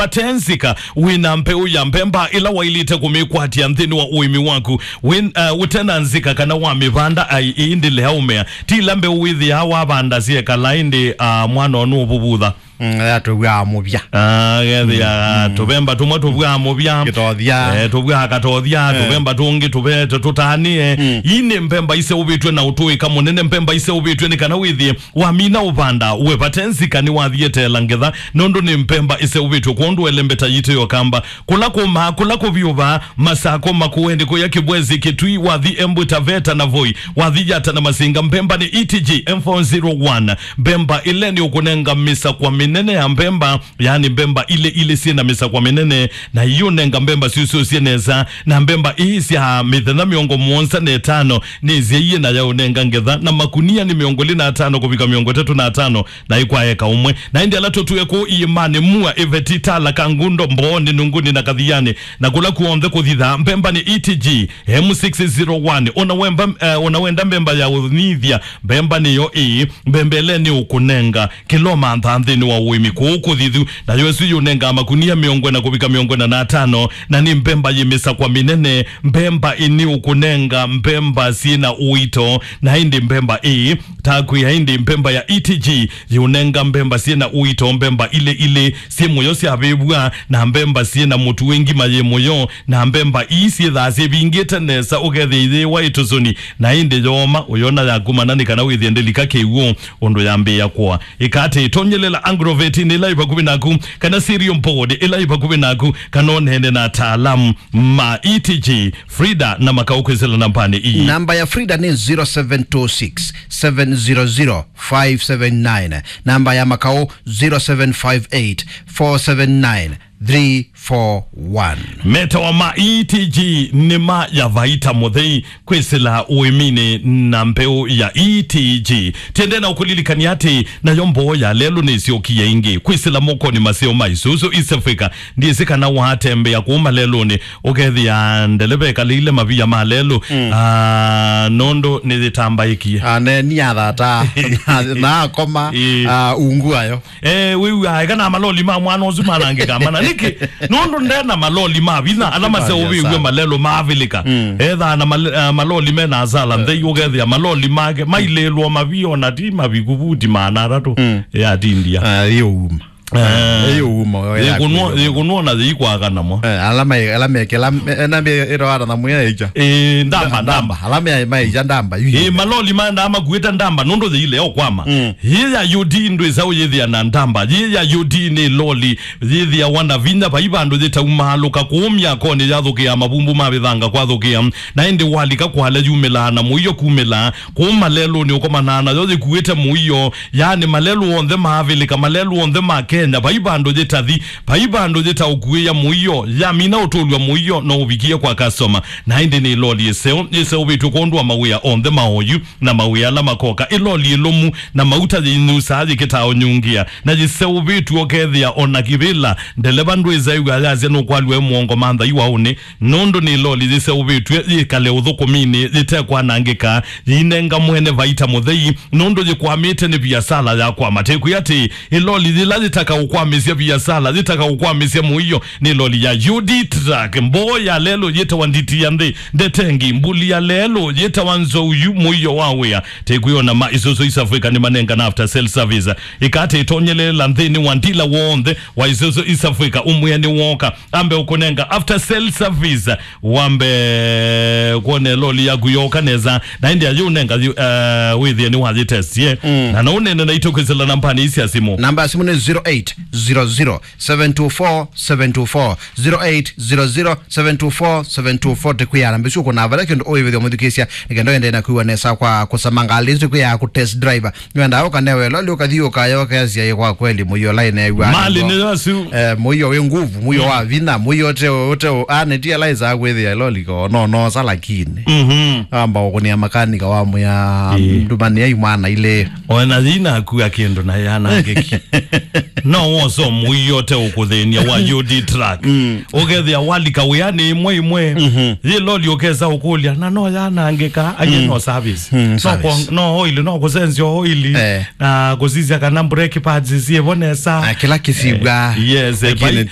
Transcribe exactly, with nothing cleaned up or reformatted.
vate nzika, wĩ na mbeũ ya mbemba ĩla waĩlĩte kũmĩkwatya nthĩnĩ wa ũĩmi waku. Wĩ, uh, ũte na nzika kana wamĩvanda, ai, ĩĩ ndĩlea ũmea. Ti ĩla mbeũ wĩthĩaa wavanda syekala ĩndĩ, uh, mwana ũnũ ũvuvutha. Mm, ya tũvwaa mũvya. Ah, gethĩa, mm, mm, tũvemba tũmwe tũvwaa mũvya. Kĩtothya. Eh, tũvwaa katothya, eh, tũvemba tũngĩ tũve-, tũ-, tũtanĩe. Mm. Ii nĩ mbemba iseũvĩtw'e na ũtũĩka mũnene, mbemba iseũvĩtw'e nĩ kana wĩthĩe wamina ũvanda, we vate nzika nĩwathiĩ eteela ngetha, nũndũ nĩ mbemba iseũvĩtw'e kwondũ elembeta yitũ yokamba. Kũla kũmaa, kũla kũvyũvaa, Masako, Makueni, kũya Kĩbwezi, Kĩtui, wathi Embu, Taveta na Voi, wathi Yata na Masinga, mbemba nĩ E T G M four zero one. Mbemba ĩla nĩ ũkũnenga mĩsakwa mĩnene ya mbemba, yaani mbemba ilĩ ilĩ syĩ na mĩsakwa mĩnene, na iũnenga mbemba syũsyũsye nesa, na mbemba ii sya mĩthenya mĩongo mũonza na ĩtano nĩ isyaie na yaũnenga ngetha, na makunia nĩ mĩongo ĩlĩ na atano kũvika mĩongo ĩtatũ na atano, na ĩkwa eka ũmwe. Na ĩndĩ ala tũtũe kũu iĩmanĩ, Mua, Ĩveti, Tala, Kangundo, Mbooni, Nunguni na Kathiani, na kũla kw'onthe kũthithaa, mbemba nĩ E T G M six zero one. Ona wemba, eh, ona wenda mbemba ya ũnyithya, mbemba nĩyo ĩĩ, mbemba ĩla nĩ ũkũnenga kĩla ũmanthaa nthĩnĩ wa ũĩmi kũu kũthithu, nayo ĩsu yũnengaa makunia mĩongo ĩna kũvika mĩongo ĩna na atano, na nĩ mbemba yĩ mĩsakwa mĩnene, mbemba ĩnĩ ũkũnenga mbemba syĩ na ũito, na ĩndĩ mbemba ĩĩ, ta kwĩa ĩndĩ mbemba ya E T G yũnenga mbemba syĩ na ũito, mbemba ilĩ ilĩ syĩ mũyo syavĩvw'a, na mbemba syĩ na mũtu wĩ ngima yĩ mũyo, na mbemba ii syĩthaa syĩvingĩte nesa, ũkethĩa iyĩwa ĩtũsũni, na ĩndĩ yooma, ũyona yakumana nĩ kana wĩthĩe ndĩlika kĩw'ũ ũndũ yambĩĩa kũa. Ĩka atĩ, ĩtonyelela agrovet ĩla ĩ vakuvĩ naku, kana cereal board ĩla ĩ vakuvĩ naku, kana ũneene na ataalamu ma E T G, Frida na Makau kwĩsĩla nambanĩ ii. Namba ya Frida nĩ zero seven two six, seven zero zero, five seven nine. Namba ya Makau, zero seven five eight, four seven nine, three four one. Metawa ma E T G nĩ ma ya vaita mũthei kwĩsĩla ũĩminĩ na mbeũ ya E T G. Tiende na ũkũlilikany'a atĩ nayo mboo ya lelũ nĩsyokie ĩngĩ kwĩsĩla mokonĩ maseo ma Isuzu East Africa. Ndyĩsĩ kana watembea kũu malelũnĩ, ũkethĩa ndeleva ekalĩile mavia ma lelũ, mm, ah, nũndũ nĩyĩtambaĩkie. Ah, ne, nĩ athata. Na, na akoma, ĩĩ, ah, ungu ayo. Eh, wĩw'aa, eka na maloli ma mwana ũsu manangĩka mana. Nĩkĩ? Nũndũ nde na maloli ma vinya, ala maseũvĩw'e malelũ ma Avilika. Mm. Ethaa na mal-, ah, maloli me na asala nthei, ũkethĩa maloli make mailĩlwo mavia, ona ti maviku vuti maana atatũ. Mm. Yatindia. Ah, iyo uma. Eh. Ĩĩ, ũuma, ĩĩ, yĩkũnwa, yaku, yĩkũnwa na yĩikwaka namo. Eh, ala me, ala mekela, me, ena me, ĩro ara na mwĩa ĩkya. Ĩĩ, ndamba, ndamba. Ala me, maĩkya ndamba, yu. Ĩĩ, maloli maendaa makuĩte ndamba, nũndũ yĩile o kwama. Mm. Yĩ ya U D ndwĩsa ũyĩthĩa na ndamba. Yĩ ya U D nĩ loli, yĩthĩawa na vinya, vai vandũ yĩtaumaalũka kũu myakonĩ yathũkĩa mavumbu ma vĩthanga kwathũkĩa. Na ĩndĩ walika kwale yumĩlaa na mũio kumĩlaa. Kũu malelũnĩ ũkomanaa nayo yĩkuĩte mũio, yaani malelũ onthe ma Avilika, malelũ onthe ma Kenya, vai vandũ yĩtathi, vai vandũ yĩtaũkuĩa mũio, yamina ũtũlw'a mũio no ũvikie kwa customer. Na ĩndĩ nĩ loli ĩseo, yĩseũvĩtw'e kwondũ wa mawĩa onthe ma oyu na mawĩa ala makoka. Ĩ loli ĩlũmu na mauta yĩinyusaa yĩkĩtaa ũnyungia, na yĩseũvĩtw'e ũkethĩa ona kĩvĩla ndeleva ndwĩsa ĩw'a yasya nũkwalw'a e mũongo manthai waũnĩ. Nũndũ nĩ loli yĩseũvĩtw'e yĩkale ũthũkũminĩ yĩtekwanangĩka, yĩinenga mwene vaita mũthei, nũndũ yĩkwamĩte nĩ viasala ya kwama. Tĩkwĩa atĩ ĩ loli yĩla yĩtaka ũkwamĩsya viasala, yĩtaka ũkwamĩsya mũio, nĩ loli ya U D truck. Mboo ya lelũ yĩtawa nditi ya nthĩ, ndetengi, mbuli ya lelũ yĩtawa nzou yu mũio wa wĩa. Tĩkwĩona ma Isuzu East Africa nĩmanengana after sale service. Ĩka atĩ ĩtonyeleela nthĩnĩ wa ndila w'onthe wa Isuzu East Africa, ũmwĩe nĩ woka. Ambe ũkũnenga after sale service, wambe kwone loli yaku yoka nesa, na ĩndĩ ayũnenga yu-, eh, wĩthĩe nĩ wayĩtestie. Mm. Na no ũnene naitũ kwĩsĩla nambanĩ ii sya simũ. Namba ya simũ nĩ zero eight zero zero, seven two four, seven two four, zero eight zero zero, seven two four, seven two four. Tĩkwĩana mbĩsu kũna vala kĩndũ ũĩvĩthya mũthikĩsya, nĩkenda ũendee na kwĩw'a nesa kwa kũsamanga alĩsu kwĩya kũ test drive. Nĩwendaa ũkanewe loli ũkathi ũkayokeesya ĩ kwa kweli mũio lainew'a. Mali nĩyo asu. Eh, mũio wĩ nguvu, mũio wa vinya, mũio ũte, ũte, anĩtie laisa kwĩthĩa loli ko, no, no, sa lakini. Mhm. Amba ũkũnia makanika wa mũya, ĩĩ, ndumanĩa imwana ilĩ. Ona yina akua kĩndũ na yanangĩki. No woso mũio ũte ũkũthĩnia wa U D truck. Mm. Ũkethĩa walika wĩanĩ ĩmwe ĩmwe. Mhm. Yĩ loli ũkesa ũkũlya, na no yanangĩka, aye, mm, no service. Mm, no service. Kũ-, no oil, no kũsensio oil. Eh. Na kũsisya kana brake pads syĩvo nesa. Na kĩla kĩsivwa. Eh, yes, eh, lakini